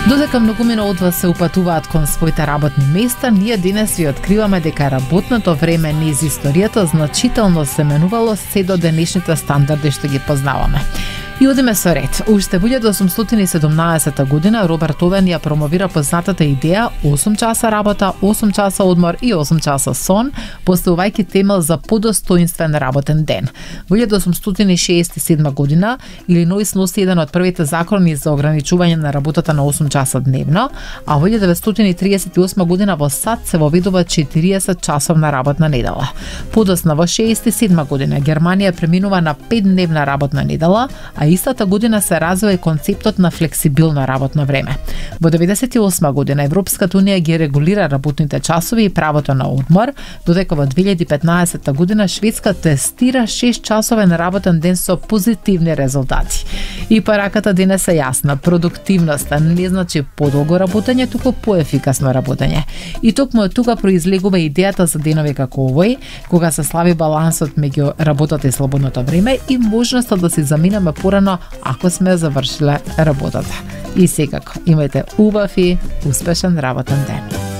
Додека многумина од вас се упатуваат кон своите работни места, ние денес ви откриваме дека работното време низ историјата значително се менувало се до денешните стандарди што ги познаваме. И одиме со ред. Уште во 1817 година Роберт Овен ја промовира познатата идеја 8 часа работа, 8 часа одмор и 8 часа сон, поставувајќи темел за подостоинствен работен ден. Во 1867 година Илиноис носи еден од првите закони за ограничување на работата на 8 часа дневно, а во 1938 година во САД се воведува 40 часовна работна недела. Подосна во 67 година Германија преминува на 5-дневна работна недела, а истата година се развива и концептот на флексибилно работно време. Во 1998 година Европската унија ги регулира работните часови и правото на одмор, додека во 2015 година Шведска тестира 6-часовен работен ден со позитивни резултати. И пораката денес е јасна. Продуктивноста не значи подолго работење, туку поефикасно работење. И токму од тука произлегува идејата за денови како овој, кога се слави балансот меѓу работата и слободното време и можноста да се заминеме порано ако сме завршиле работата. И секако, имајте убав и успешен работен ден.